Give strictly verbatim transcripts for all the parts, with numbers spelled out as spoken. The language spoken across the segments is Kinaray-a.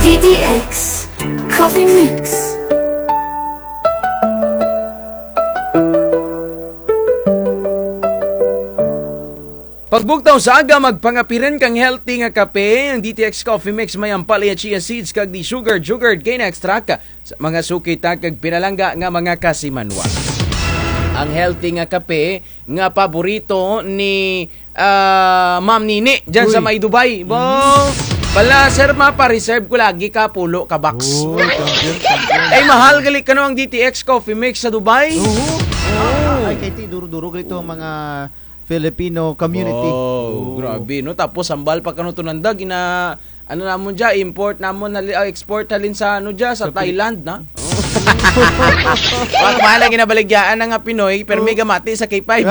D T X Coffee Mix. Pagbugtaw sa aga, magpangapi run kang healthy nga kape, ang D T X Coffee Mix may ampalaya, chia seeds, kag di sugar, sugar cane extract, sa mga suki ta kag pinalangga nga mga kasimanwa. Ang healthy nga kape nga paborito ni, ah, Ma'am Nini dyan sa Uy. May Dubai. Bo, Mm. Bala, sir, mapa-reserve ko lagi ka pulo ka box. Uy, champion, champion. Ay, mahal gali kano ang D T X Coffee Mix sa Dubai. Oo. Oo. Ah, ay, kay ti, duro-duro gali to ang mga Filipino community. Wow, Oo. grabe, no? Tapos, hambal pa kano to nanda, gina-, ano namon dya, import namon, hali-, ah, export halin sa, ano dya, sa Sa Pili- Thailand, na? Wa, kumain lagi na baligyaan na nga Pinoy, pero Oo. may gamati sa K five.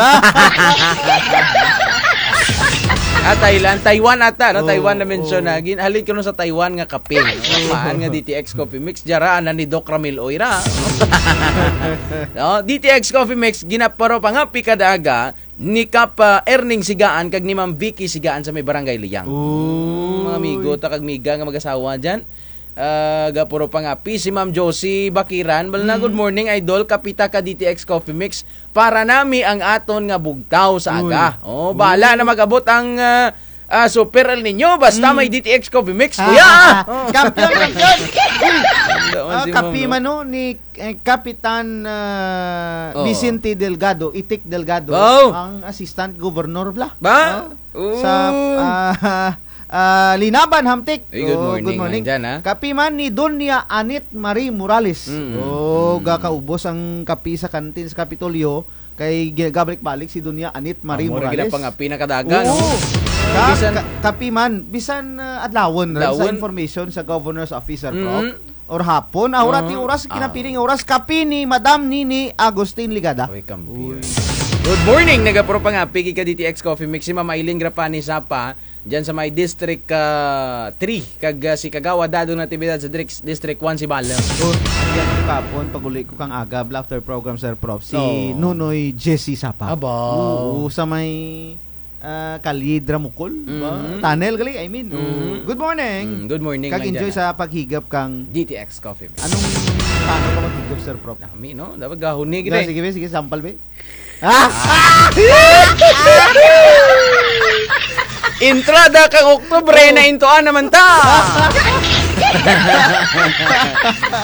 Ah, Thailand, Taiwan ata, no? Oo, Taiwan na mention oo. na. Gin-, halin kano sa Taiwan nga kape, no? Maan nga D T X Coffee Mix, dya ra, ana ni Doc Ramil Oira. No? D T X Coffee Mix, ginaparo pa nga, pikadaga, ni Kap, ah, Erning Sigaan kag ni Ma'am Vicky Sigaan sa may Barangay Liyang. Uy. Mm, mga amigo ta kag miga nga mag-asawa dyan. Ah, gapuro pangapi si Ma'am Josie Bakiran. Bala na, Mm. "Good morning, idol. Kapita ka D T X Coffee Mix. Para nami ang aton nga bugtaw sa Uy. aga." Oh, bala Uy. na mag-abot ang, ah, ah, Super El Niño. Basta Mm. may D T X Coffee Mix, Ah, kuya. ah, ah. Kampiyon, kampiyon. Uy. Ang daan Ah, si Ma'am, kapi no? man, no, ni eh, Kapitan, ah, Oo. Vicente Delgado, Itik Delgado, Wow. ang assistant governor bala. Ba? Ah, Oo. sa, ah, ah, Linaban, Hamtic. Uy, good Oh, morning, good morning. nandyan, ah. Kapi man ni Doña Anit Marie Morales. Mm. Oh, Mm. gakaubos ang kapi sa kantin sa Kapitolyo, kay gi-, gabalik-balik si Doña Anit Marie Amo ra Morales. gid ang pangapi na kadaga, no? Oo. Ka-, Bisan ka-, kapi man, bisan, ah, adlawon ra sa Adlawon. information sa governor's office, sir, Prof. Mm. Or hapon. Ah, ora ti Ah. oras, Ah. kinapiring oras. Kapi ni Madam Nini Agustin Ligada. Uy, kampiyon. Uy. Good morning, nagapuro pangapi gid ka D T X Coffee Mix. Si Ma'am Aileen Grapani Sapa, dyan sa may District, ah, three. Kag, ah, si Kagawa Dado Natividad sa Dris-, District one, si Bala. Good. Yan, kapon, pag-uli ko kang aga, after program, Sir Prof. Si Oo. Nonoy Jesse Sapa. Aba. Oo, sa may ah, kalye Dramukol, ba? Mhm. Tunnel gali, I mean. Mhm. Oh, good morning. Mm, good morning, Kag enjoy nandyan, ah. sa paghigop kang D T X Coffee Mix. Anong, paano ka maghigop, Sir Prof? Dami, no? Dapat gahon ni, Da, gid, eh. sige, be, sige, sample, be. Ah! Entrada kang Oktubre, Oh. naintuan naman ta.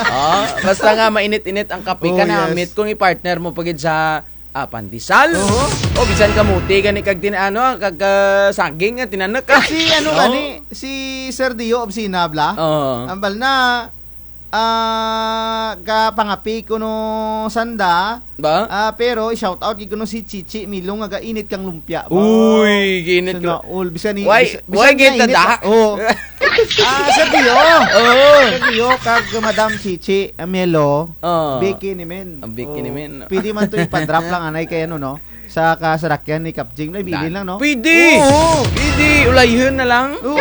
Oh, basta nga mainit-init ang kape ka Oh, na, yes. Meet ko ni partner mo pa gid sa Ah, pandesal. Oo. O, bisan kamote gani kag tin-, ano, kag, ah, saging nga tinanok, ah. Si, ano, No? gani, si Sir Dio Obsina, bala? Oo. Ambal na, ah, gapangapi kuno sanda, Ba? ah, pero i-shout out gid kuno si Chichi Milong nga gainit kang lumpia, ba? Uy, gainit Sana ka. all. Bisan ni, Why, bis-, why bisan gainit gainit, da? ah. Oo. Ah, Sir Dio. Oo. Sir Dio, kag Madam Chichi, ah, Melo. Oo. Bikini men. Ang bikini Oh, men. pwede man to ipa-drop lang, anay, kay ano, no? Sa kasarakyan ni Kap Jing, ay, bilin lang, no? Pwede! Oo. Pwede! Ulayhon na lang. Oo.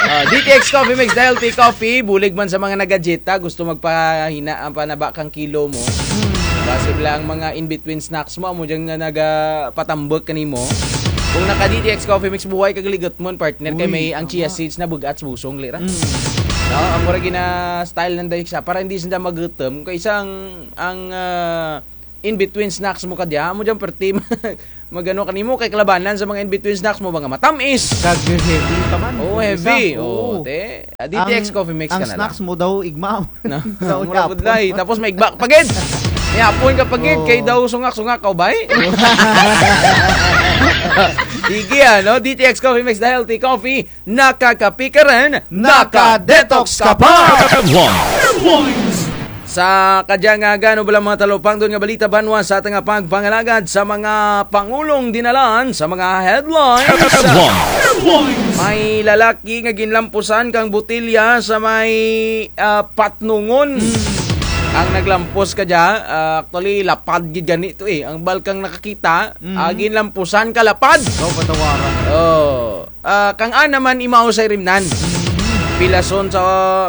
Ah, D T X Coffee Mix, Dial Tea Coffee, bulig man sa mga nagadjeta, gusto magpahina, ang panaba kang kilo mo. Hmm. Basi lang mga in-between snacks mo, amo dyan nga nagapatambok kanimo. Kung naka-D T X Coffee Mix, buhay kag ligot mo, partner, kay Uy, may ang tama. Chia seeds na bug-at sa busong, lira. Mm. No, amo ra gina-style nanda siya, para hindi sila magutom. Kay isang, ang, ah, in-between snacks mo kadya, amo dyan, perti, mag-ano kanimo, kay kalabanan sa mga in-between snacks mo, mga matamis. Kag heavy pa man. Oo, Kung heavy. isa, Oo, oo. Te. Ah, D T X Ang, Coffee Mix ang ka na snacks lang. mo daw, igma. Na, Daw mura gud yapon. Lay. Tapos may igbak pa gid. May apon ka pa gid, Oo. kay daw sungak-sungak ka, bay. Sige, ano? D T X Coffee Mix, the healthy coffee. Nakakapi ka rin, Naka-detox ka pa. Headlines. Sa kadya nga aga, ano bala mga talupangdon nga balita banwa sa atang pagpangalagad sa mga pangulong dinalan sa mga headlines. Headlines. May lalaki nga ginlampusan kang botilya sa may, ah, Patnongon. Hmm. Ang naglampos kadya, ah, actually, lapad gid gani to eh. Ang balkang nakakita, Hmm. ah, ginlampusan ka lapad. Daw patawaran. Oh. Ah, kang ana man imaw sa irimnan. Pilason sa,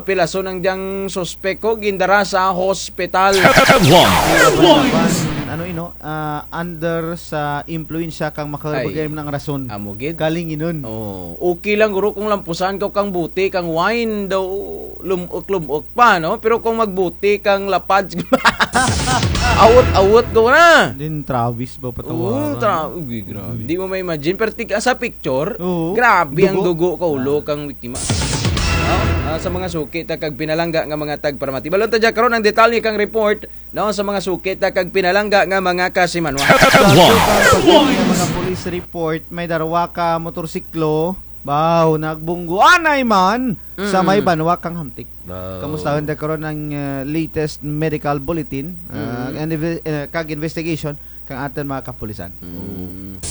pilason ang dyang suspek ko, gindara sa hospital. Headlines. ano ino, ah, under sa impluwensya kang makahulog nga rason. Amo gid. Kalinginon. Oh, okay lang guro kung lampusan kaw kang bote kang wine daw lum-ok-lum-ok pa, no? Pero kung magbote kang lapad, awot-awot ko na. Din Travis ba patawa? Oo, tra-, uy, grabe. Di mo ma-imagine. Pero tig-, sa picture, grabe ang dugo kaulo kang biktima. No? Ah, sa mga suki ta kag pinalangga nga mga tagparamati. Balon ta dya karon ang detalye kang report, no, sa mga suki ta kag pinalangga nga mga kasimanwa. Sa mga police report, may darwa ka motorsiklo, baw, nagbunggo anay man sa may banwa kang Hamtic. Kamustahon ta karon ang, ah, latest medical bulletin, ah, and inve-, ah, kag investigation kang atun mga kapulisan. Mm.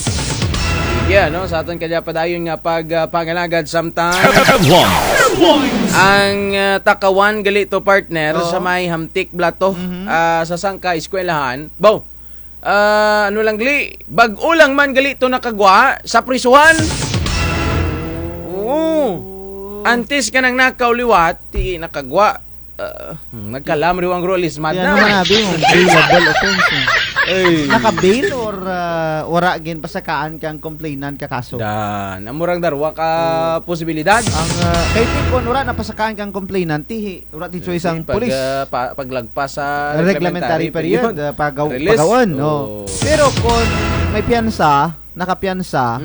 Sige, no? Sa atun kadya padayon nga pag, ah, pangalagad samtang ang, ah, takawan gali to, partner, sa may Hamtic Blato, ah, sa sangka eskwelahan. Baw, ah, ano lang gali, bag-o lang man gali to nakagwa sa prisuhan. Oo. Antes ka nang nakaw liwat, ti nakagwa. Ah, hmm, nagkalam riwang guro lismad na. Ano man abi mo, bailable offense, eh. Naka-bail or, ah, wara ginpasakaan kang complainant ka kaso? Dan, amo rang darwa ka posibilidad. Ang, ah, kay ti kon wara napasakaan kang complainant, ti, wara ti choice ang pulis. Ah, pa-, paglagpas sa reglementary period, ah, pagaw-, pagawon, no? Pero kon may piyansa, nakapiyansa,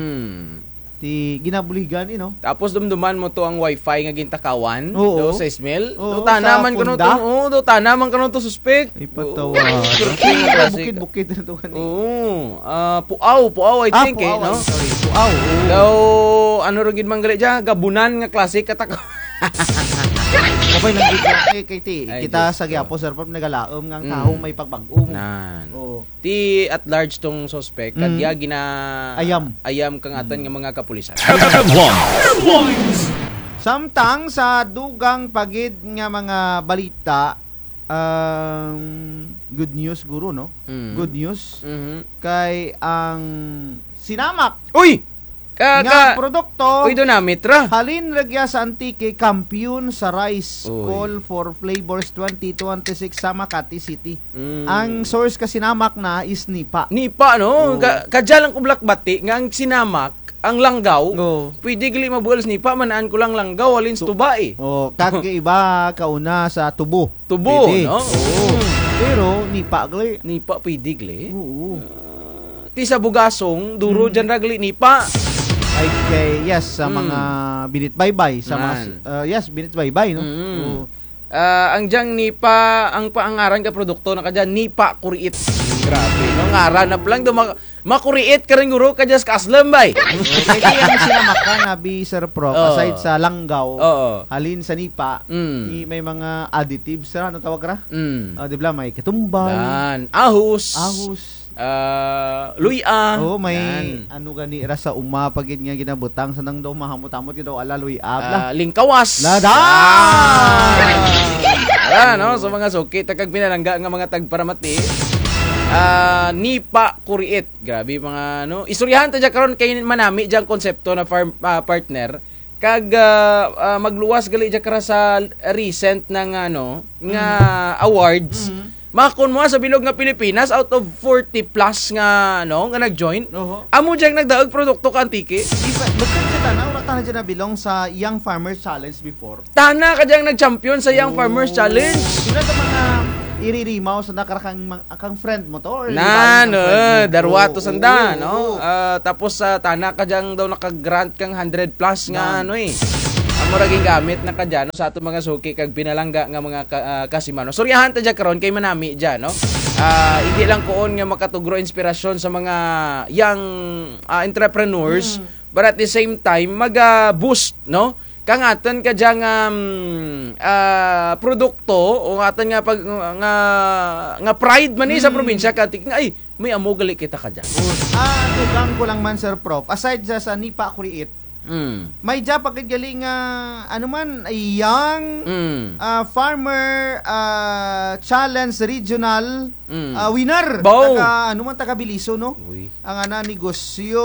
ti ginabuligan, eh, no? Tapos dumduman mo to ang wifi nga gintakawan, do, sais mil. Do, tana man kuno to, oo, do, tana man kuno to suspek. Ay, patawa. Bukid-bukid na to kani. Oo. Ah, Puaw, Puaw, I think, eh, no? Puaw, ay, sorry. Puaw, oo. Daw, ano ra gid man gali dya, gabunan nga klase ka takaw. Kapay lang gid, eh, kay ti, kita sa gihapon, sir, pag nagalaom nga ang tawo may pagbag-o. Nan. Oo. Ti at large tong suspek, kag dya gina-ayam kang atun nga mga kapulisan. Samtang sa dugang pa gid nga mga balita, um, good news guro, no? Good news. Kay ang Sinamak. Uy! Ka-, nga ka-, produkto, uy, dunamit ra. Halin ra gya sa Antique, kampiyon sa rice. Uy. Call for Flavors twenty twenty-six sa Makati City. Mm. Ang source ka Sinamak na is Nipa. Nipa, no? Oo. Ka-, kadya lang ko bulak bati nga ang Sinamak, ang langgaw, pwede gali mabuul sa Nipa, man-an ko lang langgaw, halin sa tuba, eh. Oh, kag iba kauna sa tubo. Tubo, no? Pwede. Oo. Mm. Pero Nipa gali. Nipa pwede gali. Oo. Ah, ti sa Bugasong, duro dyan ra gali Nipa. Ay, kay, yes, sa mga binitbaybay, sa mga, ah, yes, binitbaybay, no? Mm. Oo. Ah, ang dyang Nipa, ang pa-, ang ngaran ka produkto na kadya, Nipa Kuriit. Grabe, no? Ngaran na palang duma-, makuriit ka rin guro kadya sa Kaslem, bay. Pwede ang Sinamak ka, abi, Sir Prof, aside sa langgaw, halin sa Nipa, ti may mga additives ra, ano tawag ra? Mm. Ah, di ba, may katumbay. Yan. Ahos. Ahos. Ah, luy-a. Oo, may ano gani ra sa uma pa gid nga ginabutang sa nang daw mahamot-hamot gid daw ala luy-a, bla. Ah, lingkawas. La, da! Ah, no, sa mga suki ta kag pinalangga nga mga tagparamati. Ah, Nipa Kuriit. Grabe mga, ano. Istoryahan ta dya karon kay manami dyang konsepto na farm, ah, partner. Kag, ah, ah, magluwas gali dya kara sa recent na nga, ano, nga awards. Makon mo sa bilog nga Pilipinas, out of forty plus nga, ano, nga nag-join. Oho. Amo dyang nagdaug produkto ka Antique. Di ba, bukod sa tana, wara tana dyan na-belong sa Young Farmers Challenge before? Tana ka dyang nag-champion sa Young Farmers Challenge. Sino sa mga iririmaw sa nakara kang, kang friend mo to? Or iba kang friend mo? Nan, eh, darwa to sanda, no? Oo. Ah, tapos, ah, tana ka dyang daw naka-grant kang hundred plus nga, ano, eh. Amo ra gingamit na kadya, no, sa atong mga suki kag pinalangga nga mga ka-, ah, kasimanwa. Istoryahan ta dya karon kay manami dya, no? Ah, hindi lang kuon nga makatugro inspirasyon sa mga young, ah, entrepreneurs, but at the same time, mag, ah, boost, no? Kang atun ka dyang, um, ah, produkto, o atun nga pag, nga, nga pride man, eh, sa probinsya ka Antique nga, ay, may amo gali kita kadya. Ah, dugang ko lang man, Sir Prof. Aside sa, sa Nipa Kuriit, may dya pa gid gali nga, ano man, Young, ah, Farmer, ah, Challenge Regional, ah, winner. Taga, ano man, taga Beliso, no? Uy. Ang ana negosyo,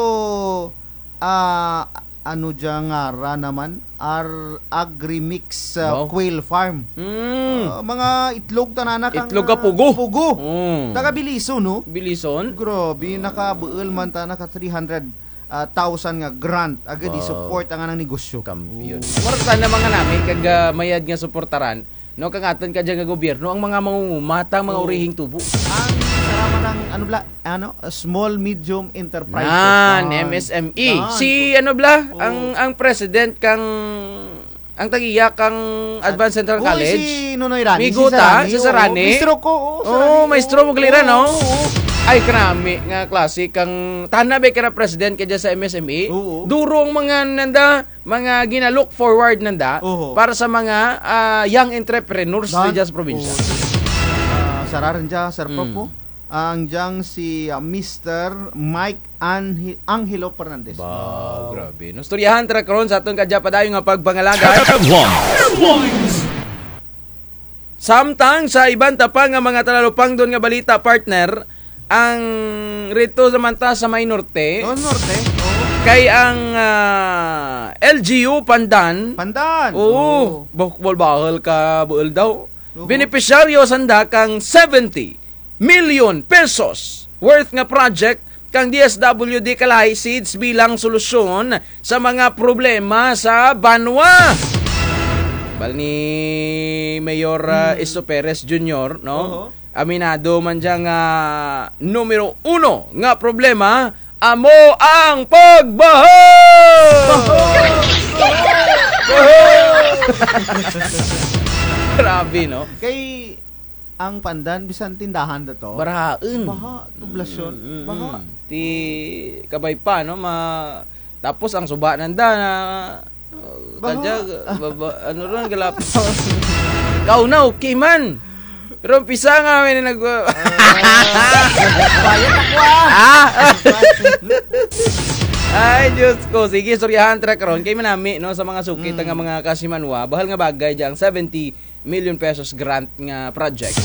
ah, ano dya ngaran naman, Ar-, Agrimix, ah, Wow. Quail Farm. Mm. Ah, mga itlog tanana kang, Itlog ka ah, pugo. pugo. Mm. Taga Belison, no? Belison? Grabe, nakabuul man ta, naka three hundred, ah, thousand nga grant. Agad Wow. i-support ang anang negosyo. Kampiyon. Oh. Wara ta na mga nami, kag, ah, mayad nga suportaran. No, kang atun kadya nga gobyerno, ang mga mangunguma, tang mga Oo. urihing tubo. Ang saraman ng, ano bala, ano, small, medium enterprises. Nan, Nan. M S M E. Nan. Si, ano bala, Oo. ang, ang president kang, ang tag-iya kang Advanced Central Uy, College. si Nonoy Rani, Migo si ta, Sarani, si oo. Sarani. Maestro ko, oo, Oo, Sarani, maestro oo. mo gliran, no? Oo, oo. Ay, kanami nga klase kang, tana ba kara president kadya sa M S M E? Oo. Duro ang mga nanda, mga gina-look forward nanda Oho. para sa mga, ah, young entrepreneurs Nan? didya sa probinsya. Oo. Ah, sara run dya, Sir Prof, Mm. oh. Ang dyang si, ah, Mister Mike Ange-, Angelo Fernandez. Ba, Wow. grabe. No, istoryahan ta ra karon sa atun kadya padayon nga pagpangalagad. Headlines. Samtang sa iban ta pa nga mga talalupangdon nga balita, partner, ang rito naman ta sa may norte, Doon, norte. Oo. kay ang, ah, L G U Pandan. Pandan. Oo. Oo. Bah-, bahul ka buul daw. Oo. Benepisyaryo sanda kang seventy million pesos worth nga project kang D S W D Kalahi Seeds bilang solusyon sa mga problema sa banwa. Bal ni Mayor, ah, Hmm. Isto Perez Junior, no? Oho. Aminado man dya nga numero uno nga problema, amo ang pagbaha! Baha! Baha! Grabe, no? Kay ang Pandan, bisan tindahan da to. Barahaun. Baha, poblasyon. Mm, mm, Baha. mm. Ti kabay pa, no? Ma-, tapos ang suba nanda na, uh, Baha. kadya, baba, ano ron, galapaw. Kauna, okay man. Pero umpisa nga, may nag- Ah. Bayad ako, ah. Ah! Ay, Diyos ko. Sige, istoryahan ta ra karon. Kay manami, no, sa mga suki ta nga Mm. mga kasimanwa, bahul nga bagay dya ang seventy million pesos grant nga project.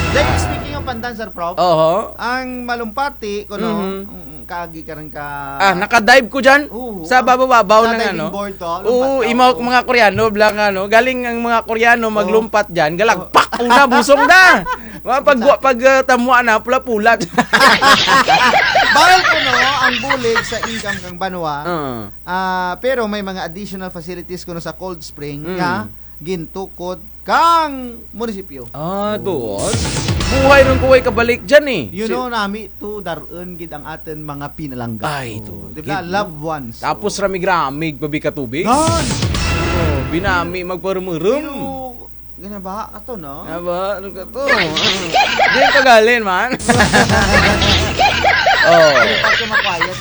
Then, speaking of Pandan, Sir Prof, Oho. ang Malumpati, kuno, Mhm. mm, kaagi ka rin ka Ah, nakadive ko dyan. Oo. Sa babaw-babaw Sa ng diving ano. board to, Oo, lumpat ka, imaw oo. mga Koreano, bala nga, no? Galing ang mga Koreano Oo. maglumpat dyan, galagpak, Oo. una, busong na. Mga pag, Exactly. pag, ah, tamwa na, pula-pula. Bahul kuno ang bulig sa income kang banwa. Oo. Ah, pero may mga additional facilities kuno sa Cold Spring Mm. nga gintukod kang munisipyo. Ah, Oh. doon. Buhay run ko way kabalik dyan eh. You Si- know, nami to, dar-un gid ang atun mga pinalangga. Ay, Oh, to. di ba? Gid, no? Loved ones. Tapos Oh. rami-rami, gbabi ka tubig. Gan! Oh, binami, magparumarum. Pero, gana ba? Ato, no? Nga ba? Ano ka to? Di ka galin, man. Oh. Pati makwayat.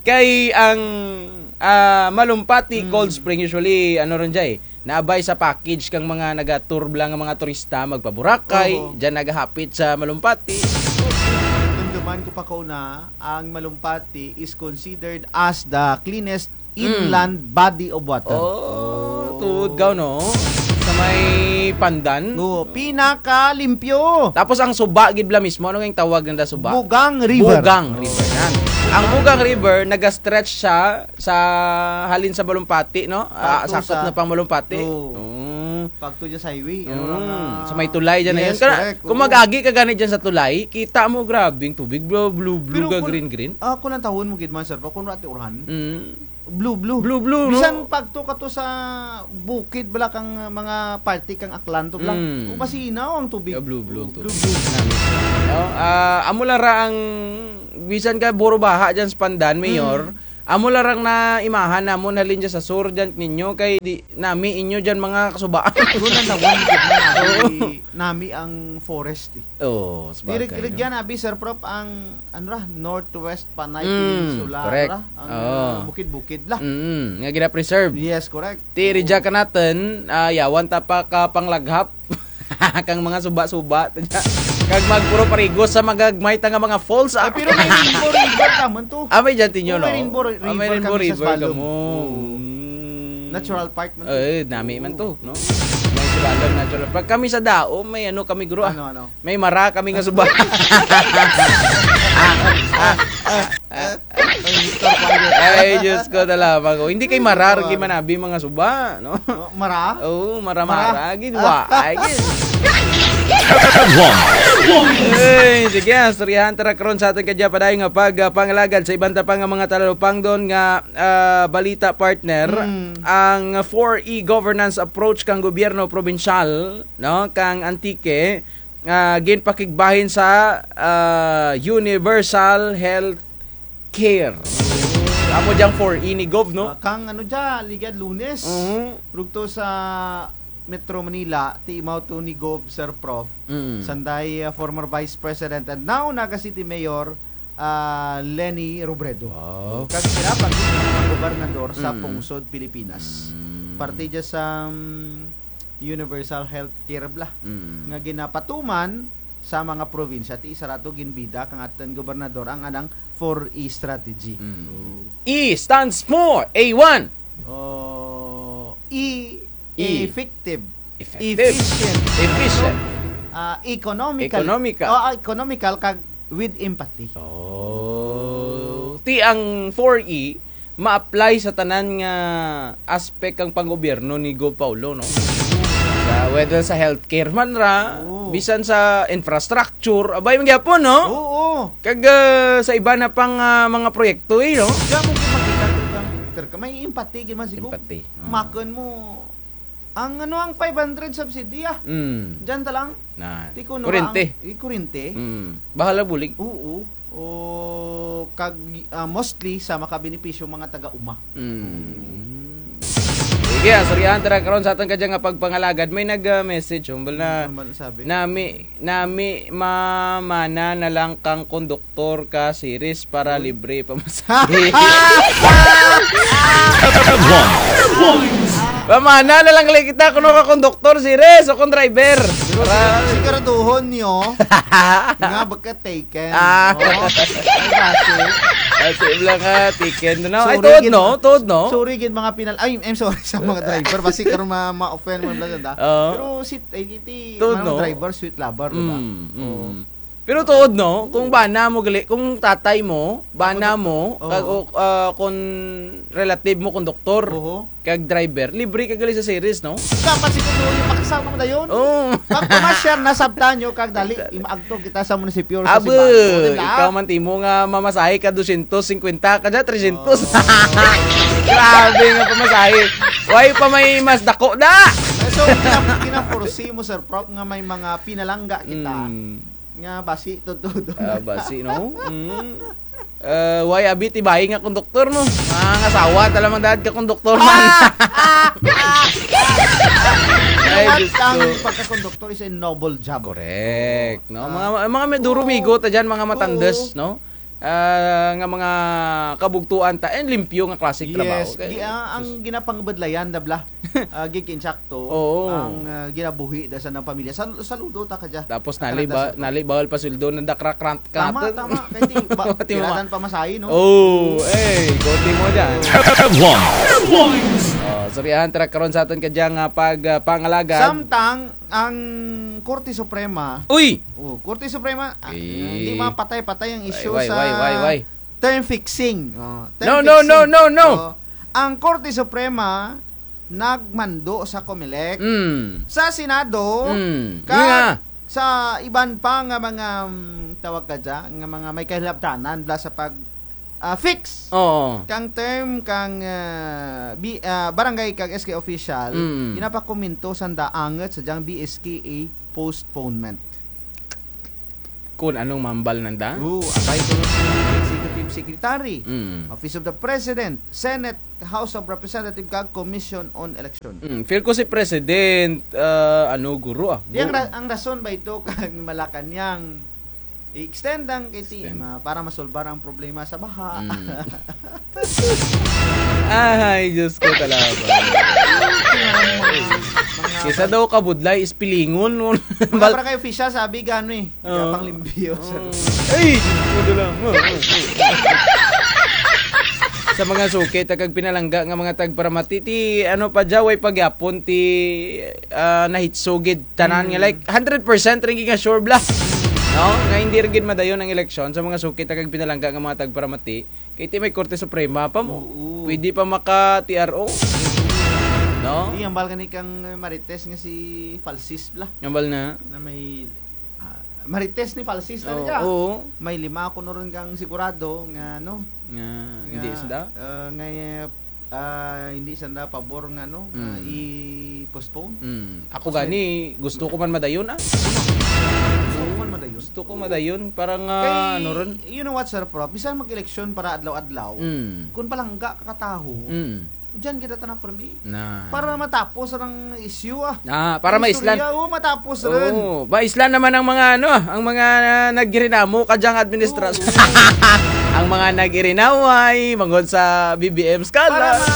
Kay ang, ah, Malumpati, Mm. Cold Spring, usually, ano run dya eh, naabay sa package kang mga naga-tour bala nga mga turista, magpa-Boracay, Oo. dyan nagahapit sa Malumpati. Dunduman ko pa kauna, ang Malumpati is considered as the cleanest Mm. inland body of water. Oh, Oh. tuod gaw, no? Sa may Pandan. Oo, pinakalimpyo. Tapos ang suba gid bala mismo, ano nga tawag nanda suba? Bugang River. Bugang River, yan. Ang Bugang River, naga-stretch siya sa halin sa Malumpati, no? Ah, Pagto sakop sa na pang Malumpati. Oo. Oo. Pagto dyan sa highway, ano Mm, lang, ah, sa may tulay dyan na yes, yun. Kana, correct, kung oo. mag-agi ka gani dyan sa tulay, kita mo, grabe ang tubig, blue, blue, blue, Pero ka, kun-, green, green. ah, kung ang tawon mo gid man, sir, pa, kung rati urahan, Mm. blue, blue. Blue, blue, no? Bisan pagto ka to sa bukid, bala kang, ah, mga parte kang Aklan to, bala. Mm. O, masinaw ang tubig. Yeah, blue, blue ang Oo, tubig. blue, blue. No? Ah, amo lang ra ang, bisan ka buro baha dyan sa Pandan, Mayor, Mm. Amo lang rang naimahan namon halin dyan sa sur dyan ninyo, kay di nami inyo dyan mga kasubaan. Doon ang tawag, nami, nami ang forest, eh. Oo, sabagay, no? Rugyan abi, Sir Prof, ang, ano ra, Northwest Panay Mm, Peninsula, correct. Ano ra, ang, Oo. ah, bukid-bukid la. Mm, nga gina-preserve. Yes, correct. Ti, Oo. rugya kanatun, ah, yawan ta pa ka panglaghap. Kang mga suba-suba, to dya. Kag magpuro parigos sa magagmay ta nga mga falls, ah. Ay, pero may Rainbow River naman to. Ah, may dyan tinyo, Oh, may no? Rainbow Ri-, Ah, may River Rainbow kami sa River Sibalom. kamo. Oo. Mm. Natural Park man to. Eh, nami man to, no? May Sibalom Natural Park. Kami sa Dao, may ano kami, guro, ah. Ano, ano? May mara kami nga suba. Ah, ah, ah, ah. Ay, mister ko Ay, Diyos ko, talaga ko. Hindi kay marar, kay manabi mga suba, no? Oh, mara? Oo, mara, mara. Mara. Gid wa. Ay, gid. Ay, sige, ah, istoryahan ta ra karon sa atun kadya padayon nga pag, ah, pangalagad sa iban ta pa nga mga talupangdon nga, ah, balita, partner. Mm. Ang four E governance approach kang gobyerno probinsyal, no, kang Antique, ah, ginpakigbahin sa, ah, universal health care. Amo dyang four E ni Gov, no? Ah, kang ano dya, ligyad Lunes. Mhm. Rugto sa Metro Manila, ti imaw to ni Gov, Sir Prof. Mm. Sanday, ah, former Vice President and now naga City Mayor, ah, Leni Robredo. Wow. Kag sira pa gid ang mga gobernador sa, mm, pungsod Pilipinas. Mm. Parte dya sa, mm, universal health care bala. Mm. Nga ginapatuman sa mga probinsya, ti isara to ginbida kang atun gobernador ang anang four E strategy. Mm. Oh. E stands for A one. Oh, E, E. Effective. Effective. Efficient. Efficient. Ah, economical. Economical. Oh, ah, economical kag with empathy. Oh. Ti ang four E, ma-apply sa tanan nga aspect kang panggobyerno ni Gov Paolo, no? Sa, whether sa healthcare man ra, oo, bisan sa infrastructure, abay man gyapon, no? Oo. Kag, ah, sa iba na pang, ah, mga proyekto, eh, no? Diyan mo gyud makita to, kang Peter, ka may empathy gyud man si Gov. Empathy. Oo. Makon mo, ang ano, ang five hundred subsidy, ah. Mm. Diyan ta lang. Na. Ti kuno ba ang, kuryente. Eh, kuryente. Mm. Bahala bulig. Oo. O, kag, ah, mostly sa makabenepisyo mga taga-uma. Mm. Sige, ah, istoryahan ta ra karon sa atun kadya nga pagpangalagad. May nag, ah, message, humble na. Ano man sabi? Nami, nami, mamana na lang kang konduktor ka, Ceres, para libre pamasahe. Pamana na lang gali kita kuno ka konduktor, Ceres, o kon driver. Pero para siguraduhon nyo nga baka taken. Ah. No? Ay, basi. Basi lang nga taken, no? Ay, sorry, tuod, gid, no? Tuod, no? Sorry, gid, mga pinal-, ay, I'm sorry sa mga driver. Basi karon ma-, ma-offend mo lang, da. Oo. Pero si, eh, iti, tuod, mga, no? Driver, sweet lover, di ba? Mm, mm. Oo. Pero tuod, no? Kung bana mo gali, kung tatay mo, bana mo, kag, o, ah, kung relative mo, konduktor, kag driver, libre ka gali sa Ceres, no? Dapat siguro yung makasama mo dayon. Oo. Pag pamasyar na, sabtan nyo, kag dali, imaagto kita sa munisipyo, sa simbahan, di ba? Ikaw man timo nga mamasahe ka dosyentos singkwenta, kadya tresyentos. Oo. Grabe nga pamasahe. Way pa may mas dako da. So, gina-, gina-foresee mo, Sir Prof, nga may mga pinalangga kita. Mm. Nga basi, tuod. Ah, basi, no? Mm. Eh, way abi ti bayi nga konduktor, no? Mangasawa ta lamang daad ka konduktor man. Ay, Diyos ko. Ang pagkakonduktor is a noble job. Correct, no? Ah. Mga, mga may duro migo ta dyan, mga matandes, no? Ah, nga mga kabugtuan ta, and limpyo nga klaseng trabaho. Yes, kay, ah, ang sus- ginapangbudlayan, da bala. Ah, gid insakto, oo, ang, ah, ginabuhi da sa nang pamilya. Sal-, saludo ta kadya. Tapos nali ba-, nali bawal pa sweldo nanda krakrat ka. Tama, tama. Kay ti ba-, ti ma-, piratan pamasahe, no? Oh, eh, ikaw timo dyan. Headlines. Oh, istoryahan ta ra karon sa atun kadya nga pag, ah, pangalagad. Samtang ang Korte Suprema. Uy! Oh, Korte Suprema, ah, eh, hindi mapatay-patay ang isyu sa term fixing. Oh, term fixing. No, no, no, no, no. Oh, ang Korte Suprema nagmando sa Comelec, mm, sa Senado, mm, kag sa iban pa nga mga, mm, tawag kadya, nga mga may kahilabtanan bala sa pag, ah, fix. Oo. Kang term kang, ah, bi-, ah, barangay kag S K official, mm, ginapakomento sanda angut sa dyang B S K A postponement. Kon anong mahambal nanda? Oo, abay kuno si Executive Secretary, mm, Office of the President, Senate, House of Representative kag Commission on Election. Mm, feel ko si President, ah, ano, guro, ah. Di ang ra-, ang rason ba ito kang Malacañang i-extend ang K T M, ah, para masolbar ang problema sa baha? Mm. Ay, Diyos ko, talaga. Mga, mga, kaysa daw kabudlay, ispilingon. Mga barangay official, sabi gano eh. Oo. Gapang limpyo, sir. Ay! Tudo lang. Sa mga suki ta kag pinalangga nga mga tagparamati, ti ano pa dya, way pa gyapon ti, ah, nahitso gid tanan nga, mm, like, hundred percent rin gid nga sure bala. No? Nga hindi rin gid madayon ang eleksyon sa mga suki ta kag pinalangga nga mga tagparamati. Kay ti may Korte Suprema pa mo. Oo. Pwede pa maka-T R O. No? Di, hambal gani kang Marites nga si Falsis bala. Hambal na. Na may, ah, Marites ni Falsis na Oo, niya. Oo. May lima kuno run kang sigurado nga, ano, Nga, hindi nga, sanda? Ah, nga, ah, hindi sanda pabor nga, ano, nga Mm. i-postpone. Mm. Ako Kasi gani, gusto ko man madayon, ah. Gusto ko man madayon. Gusto ko madayon, para nga, Kay, ano run. You know what, Sir Prof? Bisan mag-eleksyon para adlaw-adlaw, Mm. kung palangga ka kataho, Mm. diyan kita tana permi. Na. Para matapos ang issue, ah. Ah, para Ang maislan. istorya, oh, matapos run. Oo, maislan naman ang mga, ano, ang mga naggirinamo kadyang administrasyon. Oo. Ang mga nag-irinaway, manghod sa B B M Para Scala. ma-,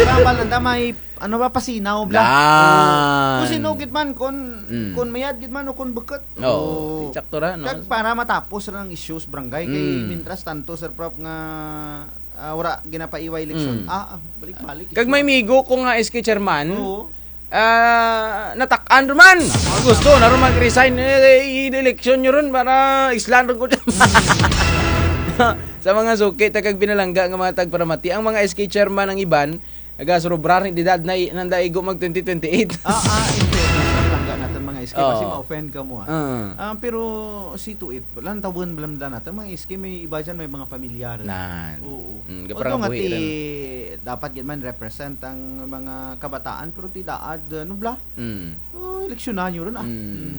ano, para ma-, may, ano ba, pasinaw bala. Yan. Oo. Kung sino gid man, kung, Mm. kung mayad gid man o kung bukut. Oo, Oo. Sakto ra, no? Kag para matapos ra ang issues barangay, kay Mm. mintras tanto, Sir Prof, nga, ah, wara ginapaiway eleksyon. Mm. Ah, ah, balik-balik Kag isyu. may migo ko nga S K chairman, Oo. ah, natak-an ruman. Tama, Gusto tama. na ruman mag-resign, eh, i-eleksyon nyo run para islan run ko dyan. Sa mga suki, ta kag pinalangga nga mga tagparamati, ang mga S K chairman ang iban, nagasurubra run edad na i-, nanda igo mag twenty twenty-eight. Ah, ah, in fairness, ang langga natun mga S K, kasi Oo. ma-offend kamo, ah. Ah. Ah, pero see to it, lantawen bala natun mga S K, may iba dyan, may mga pamilyar. Nan. Oo. Mm, Although kaparang nga buhi ti, rin. dapat gid man represent ang mga kabataan, pero ti daad, ano bala? Mm. Oh, eleksyonan nyo run, ah. Mm. Mm.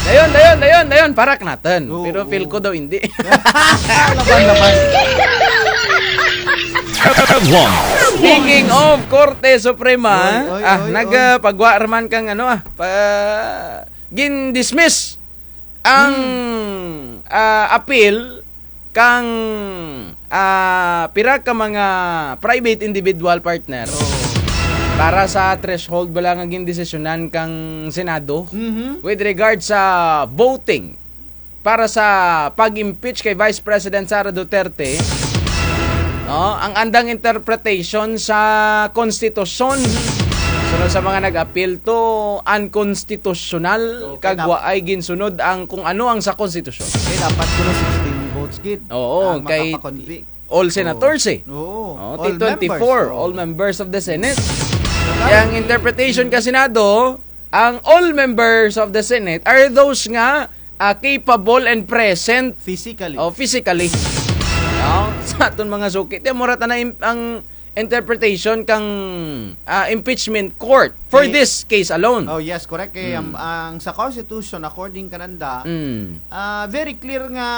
Dayon, dayon, dayon, dayon, parak natun. Oo, Pero feel oo. ko daw hindi. Laban, laban. Speaking of Korte Suprema, Oy, oy, ah, oy, nag, oy. ah, pagwa raman kang ano, ah, pa, gin-dismiss ang, Hmm. ah, appeal kang, ah, pira ka mga private individual partner Oo. para sa threshold bala nga gindesisyonan kang Senado Mhm. with regard sa voting para sa pag-impeach kay Vice President Sara Duterte, no, ang andang interpretation sa konstitusyon. Sunod sa mga nag-appeal to, unconstitutional, Okay, kag dap- wa ay ginsunod ang kung ano ang sa konstitusyon. Okay, dapat kuno sixteen votes gid Oo, ang kay makakonvict. all senators eh. Oo, Oh, all T twenty-four, members. Oo. all members of the Senate. Kaya ang interpretation ka Senado, ang all members of the Senate are those nga, ah, capable and present Physically. oh, physically. No? Sa aton mga suki. Ti, mura ta na im-, ang interpretation kang, ah, impeachment court for Eh, this case alone. Oh, yes, correct. Kay Mm. ang, ang sa Constitution, according kananda, Mm. ah, very clear nga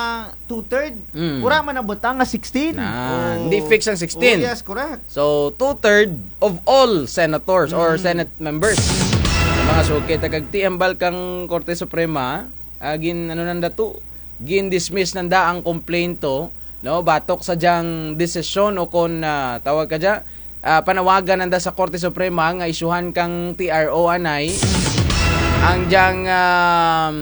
two-third. Mm. Wara man nabutang nga sixteen. Na, Oh. hindi fix ang sixteen. Oh, yes, correct. So, two-third of all senators or Mm. Senate members. Sa mga suki, ta kag ti hambal kang Korte Suprema, ah, gin, ano nanda to, gin-dismiss nanda ang komplento, no, batok sa dyang desisyon o kon, ah, tawag ka dya, ah, panawagan nanda sa Korte Suprema nga isyuhan kang T R O anay ang dyang, um,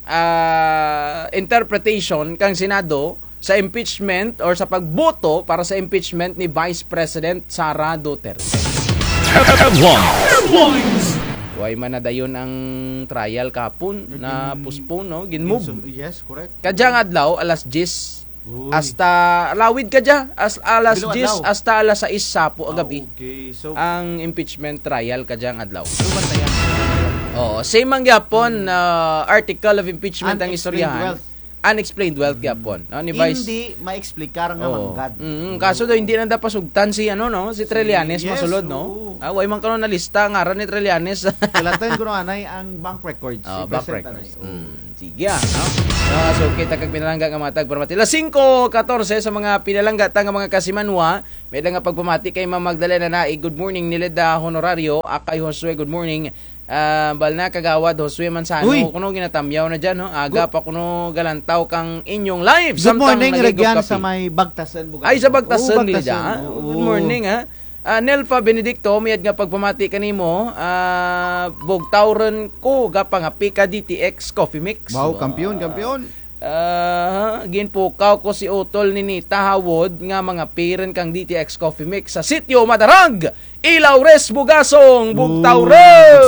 ah, interpretation kang Senado sa impeachment or sa pagboto para sa impeachment ni Vice President Sara Duterte. Headlines. Way man nadayon ang trial kahapon, Naging na-postpone, no? Gin-move. Gin-, yes, correct. Kadyang adlaw, alas diyes. Uy. Hasta, lawid kadya, as, alas Bilo diyes adlaw. hasta alas sais sapo Ah, agabi. okay. So, Ang impeachment trial kadyang adlaw. so, bantayan. Oo, same man gyapon, ah, article of impeachment ang Unexplained istoryahan. wealth. Unexplained wealth Mm. gyapon, no, ni Vice. Hindi maexplicar nga Oo. manggad. Mm, Oo. kaso daw hindi nanda pasugtan si, ano, no, si Trillanes Yes, masulod, no? oo. Ah, way man kuno nalista ngaran ni Trillanes. Sulatan kuno anay ang bank records. Ah, Si bank President records. anay. Oo. Mm, sige, ah, no? Ah, so, kita kag pinalangga nga mga tagparamati. Alas singko katorse sa mga pinalangga ta nga mga kasimanwa. May-ada nga pagpamati kay Ma'am Magdalena Naig. Good morning, Nilid, ah, Honorario. Akay Josue, good morning. Ah, bal na, Kagawad Josue Manzano, Uy! kuno ginatamyaw na dyan, no? Aga Good pa kuno galantaw kang inyong live. Good Samtang morning, nag-igop Regyan, kape. sa may Bagtasan, Bugay. Ay, sa Bagtasan, Oo, Bagtasan, Lydia. oo. Good morning, ha? Ah, Nelfa Benedicto, mayad nga pagpamati kanimo. Ah, bugtaw run ko, gapangape ka D T X Coffee Mix. Wow, Wow. kampiyon, kampiyon. Ah, ginpukaw ko si utol ni Nita Hawod nga mangape run kang D T X Coffee Mix sa Sitio Madarag, Ilaures, Bugasong, Bugtaw Uy. run.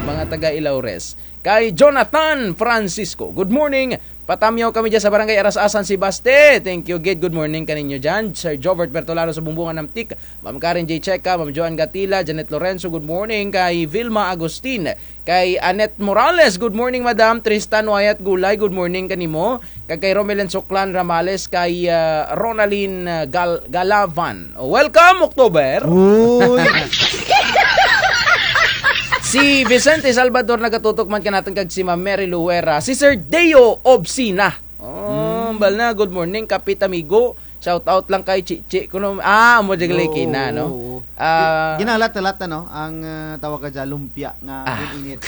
Mga taga Ilaures. Kay Jonathan Francisco, good morning. Patamyaw kami dyan sa Barangay Aras-asan, Sebaste. Thank you gid. Good morning kaninyo dyan. Sir Jovert Bertolano sa Bumbungan, Namtik. Ma'am Karen J Checa, Ma'am Joan Gatila, Janet Lorenzo, good morning. Kay Vilma Agustin, kay Annette Morales, good morning, Madam. Tristan Wyatt Gulay, good morning kanimo. Kag kay Romelin Suklan Ramales, kay, ah, Ronalyn, ah, Gal-, Galavan. Welcome, October! Uy! Si Vicente Salvador nagatutok man kanatun kag si Ma'am Mary Luera, si Sir Deo Obsina. Oh, bal na, good morning, Kapit Amigo. Shout out lang kay Chichi kuno. Ah, amo dyan gali kina, no? Oo. Ah, ginalat-alat, ano, ang, ah, tawag ka dyan, lumpia nga init.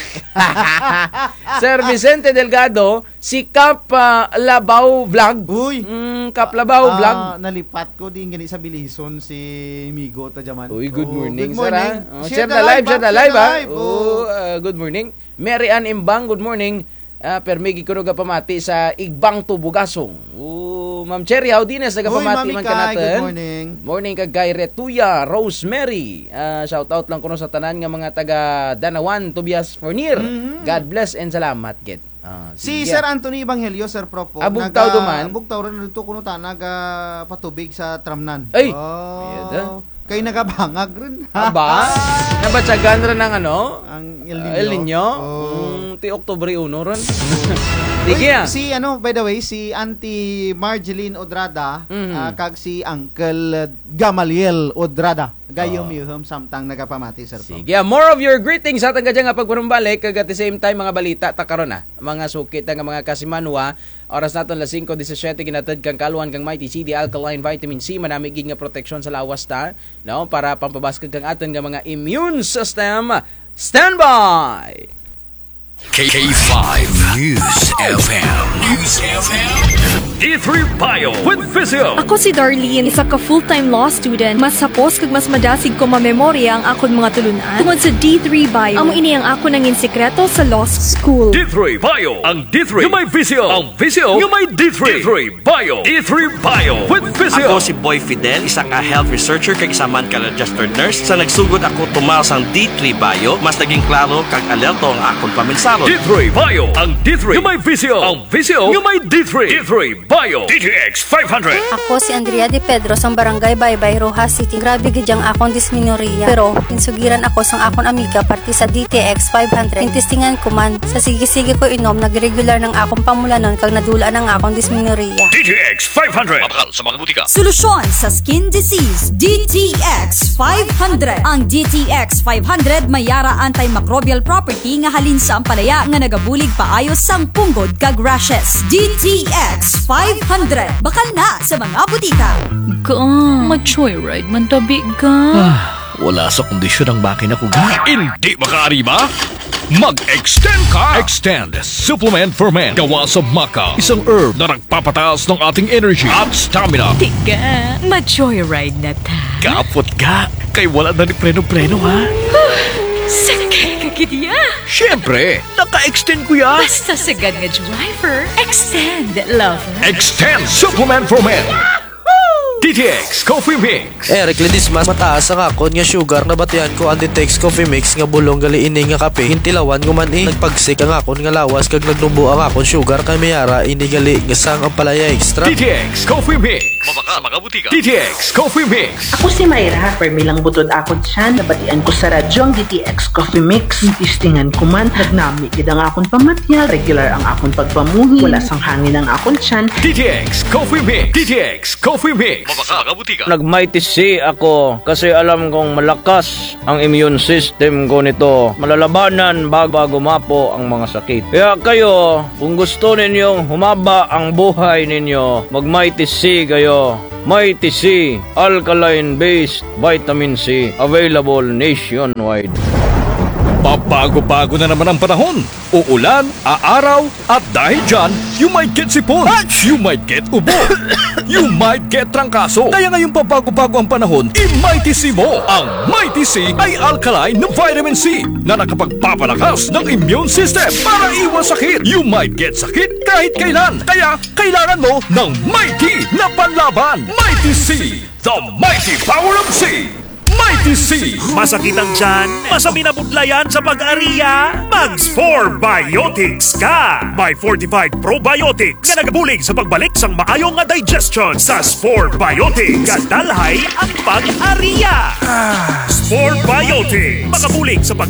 Sir Vicente Delgado, si Kap, ah, Labaw Vlog. Uy! Mm, Kap Labaw Vlog. Ah, nalipat ko, diin gani sa Belison si Migo Tajaman. Uy, good morning, sir, ah. Oh, share the live, share the live, ah. Oh, ah, good morning. Mary Ann Imbang, good morning. Ah, permi gid kuno gapamati sa Igbang Tubugasong. Oh, Ma'am Cherry Audines, nagapamati man kanatun. Uy, Mami Kai, good morning. Morning kag kay Retuya Rosemary. Ah, shout out lang kuno sa tanan nga mga taga Danawan, Tobias Fornier. Mhm. God bless and salamat gid. Ah, si Sir Anthony Evangelio, Sir Prof, ah, Bugtaw duman. Bugtaw run dito kuno ta nagapatubig sa Tramnan. Ay! Oh. Kay nagabangag run. Aba? Nabatyagan run ang ano? Ang El Niño. El Niño? Oh. Mm, ti Oktubre uno run. Sige, ah. Si ano, by the way, si Auntie Marjeline Odrada, ah, kag si Uncle Gamaliel Odrada. Gayum yuhum samtang nagapamati, Sir Pam. Sige, ah, more of your greetings sa atun kadya nga pagpanumbalik, kag at the same time, mga balita ta karon, ah. Mga suki ta nga mga kasimanwa, oras natun alas singko disisiete, ginatud kang kaalwan kang Mighty C, the Alkaline Vitamin C, manami gid nga proteksyon sa lawas ta, no, para pampabaskug kang atun nga mga immune system. Standby! K five News F M. News F M. D three Bio with Physio. Ako si Darlene, isa ka full-time law student. Mas hapos kag mas madasig ko mamemorya ang akon mga tulun-an tungod sa D three Bio. Amo ini ang akon nangin sikreto sa law school. D three Bio, ang D three nga may Physio. Ang Physio nga may D three. D three Bio. D three Bio with Physio. Ako si Boy Fidel, isa ka health researcher kag isa man ka registered nurse. Sa nagsugod ako tumar sang D three Bio, mas naging klaro kag alerto ang akon pamensahon. D three Bio, ang D three nga may Physio. Ang Physio nga may D three. D three Bio. D T X five hundred. Ako si Andrea De Pedro sang Barangay Baybay, Roxas City. Grabe gid ang akon dismenorrhea. Pero, ginsugiran ako sang akon amiga parte sa D T X five hundred. Gintestingan ko man. Sa sige-sige ko inom, nag-regular ang akon pamulanon kag nadula na ang akon dismenorrhea. D T X five hundred. Mabakal sa mga butika. Solusyon sa skin disease, D T X five hundred. Ang D T X five hundred may ara antimicrobial property nga halin sa ampalaya nga nagabulig paayo sang punggod kag rashes. D T X five hundred. Bakal na sa mga butika. Ga, ma-joyride man tabi, ga. Ah, wala sa kondisyon ang makina ko, ga. Indi makaariba? Mag-extend ka! Extend Supplement for Men. Gawa sa maca, isang herb na nagpapataas ng ating energy at stamina. Tiga, ma-joyride na ta. Kapot ga, kay wala na ni preno-preno, ha? Huh, sakay ka gid ya. Siyempre, naka-extend ko ya. Basta sagad nga driver, extend, lover. Extend Supplement for Men. D T X Coffee Mix. Eric Ledesma, mataas ang akon nga sugar, nabatian ko ang D T X Coffee Mix nga bulong gali ini nga kape. Gintilawan ko man, eh. Nagpagsik ang akon nga lawas kag nagnubo ang akon sugar kay may ara ini gali nga sang ampalaya extra. D T X Coffee Mix. Mabakal sa mga butika. D T X Coffee Mix. Ako si Myra, permi lang butod akon tiyan. Nabatian ko sa radyo ang D T X Coffee Mix. Gintistingan ko man, nagnami gid ang akon pamatyag, regular ang akon pagpamuhi, wala sang hangin ang akon tiyan. D T X Coffee Mix. D T X Coffee Mix. Mabakal sa mga butika. Nag-Mighty C ako kasi alam kong malakas ang immune system ko nito. Malalabanan bago, bago gumapo ang mga sakit. Kaya kayo, kung gusto ninyong humaba ang buhay ninyo, mag-Mighty C kayo. Mighty C, alkaline-based vitamin C, available nationwide. Pabago-bago na naman ang panahon. Uulan, aaraw, at dahil dyan, you might get sipon. Ach! You might get ubo. You might get trangkaso. Kaya ngayong pabago-bago ang panahon, i-Mighty C mo. Ang Mighty C ay alkaline na vitamin C na nakapagpapalakas ng immune system para iwas sakit. You might get sakit kahit kailan. Kaya kailangan mo ng Mighty na panlaban. Mighty C, the mighty power of C. Mighty C. Masakit ang tiyan? Masabi na budlayan sa pag-aria? Mag Spore Biotics ka! May fortified probiotics nga nagabulig sa pagbalik sang maayo nga digestion. Sa Spore Biotics, gadalhay ang pag-aria. Spore Biotics, makabulig sa pag-